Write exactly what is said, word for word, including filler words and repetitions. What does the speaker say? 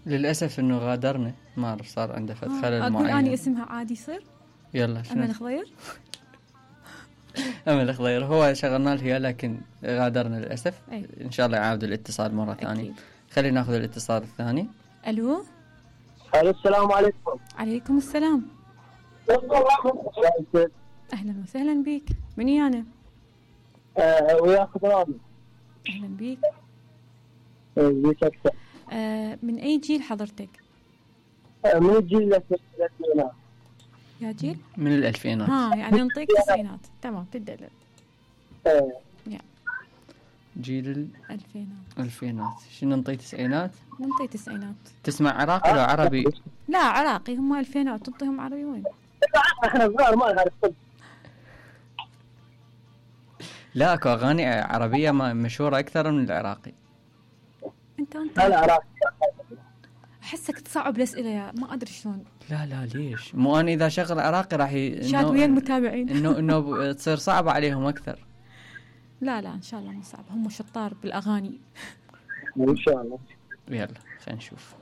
للأسف انه غادرنا، ما صار عنده فد خلل أقول معين. أني اسمها عادي يصير؟ يلا شنو؟ أمل خضير. أمل خضير هو شغلنا لها لكن غادرنا للأسف. أي. إن شاء الله يعاود الاتصال مرة ثانية. خلينا ناخذ الاتصال الثاني. ألو. ألو السلام عليكم. عليكم السلام. أهلا وسهلا بك. من يانا؟ أه وياك رامي. أهلا بك. بيك أكثر. أه من أي جيل حضرتك؟ أه من الجيل الألفينات. يا جيل؟ من الألفينات. ها يعني نعطيك تسعينات. تمام تدلل. أه. يا. جيل الألفينات. الألفينات. شنو نعطي تسعينات؟ نعطي تسعينات. تسمع عراقي لو عربي؟ لا عراقي، هم ألفينات. تعطيهم عربي وين؟ احنا صغار ما نعرف. لا اكو اغاني عربيه مشهوره اكثر من العراقي. انت انت انا عراقي. احسك تصعب الاسئله يا ما ادري شلون. لا لا ليش؟ مو انا اذا شغل عراقي راح ي... شاد ويا المتابعين انه انه تصير صعبه عليهم اكثر. لا لا ان شاء الله مو صعب، هم شطار بالاغاني. ان شاء الله. يلا خلينا نشوف.